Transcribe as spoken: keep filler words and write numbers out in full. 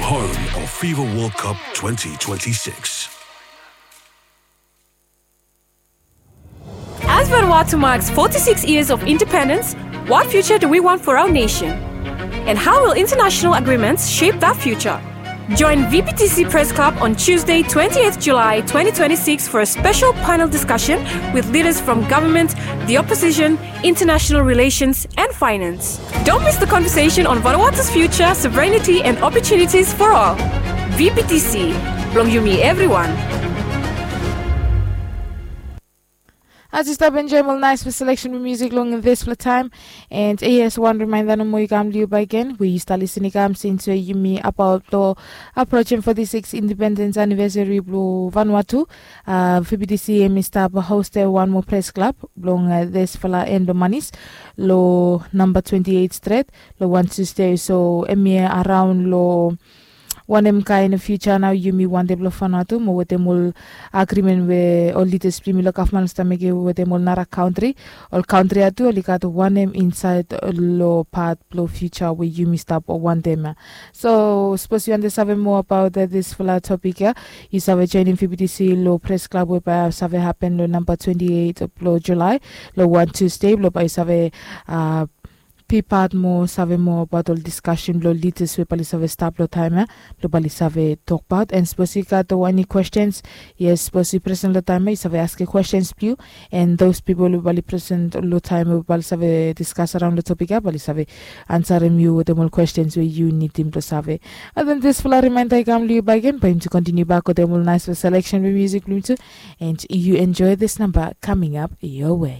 Home of FIFA World Cup twenty twenty-six. As Vanuatu marks forty-six years of independence, what future do we want for our nation? And how will international agreements shape that future? Join V B T C Press Club on Tuesday, twenty-eighth July twenty twenty-six, for a special panel discussion with leaders from government, the opposition, international relations, and finance. Don't miss the conversation on Vanuatu's future, sovereignty, and opportunities for all. V B T C, blong yumi evriwan. As yu stap enjoem ol naesfala seleksen blong musik long disfala taem. And yes, wan rimaenda nomo i kam long yu bakegen we yu stap lisin i kam sins we yumi abaot long aprojem foti sikis independens anivesari blong Vanuatu. V B T C hemi stap hostem wan moa pres klab blong disfala en blong manis long namba twenti eit stret long wan Tusde. So hemi araon long wanem kaen fiuja nao yumi wantem blong faonaot tu mo wetem ol agrimen we ol lidas blong yumi long gavman oli stap mekem wetem ol nara kantri. Ol kantri ya tu oli gat wanem insaed long pat blong fiuja we yumi stap wantem ya. So sapos yu wantem save moa abaot disfala topik ya, yu save joenem V B T C long pres klab we bae save hapen long namba twenti eit blong Julae long wan Tusde blong bae yu save a bipat moa, save moa abaot ol diskasen blong lidas we bae oli save stap long taem ya blong bae oli save tokbaot. And sapos yu gat eni kwestens, yes, sapos yu presen long taem ya yu save askem kwestens blong yu. And those pipol we bae oli presen long taem ya we bae oli save diskas araon long topik ya bae oli save ansarem yu wetem ol kwestens we yu nidim blong save. And then disfala rimaenda i kam long yu bakegen bae yumi tu kontiniu bak wetem ol naesfala seleksen blong musik blong yumi tu. And yu enjoe this number coming up your way.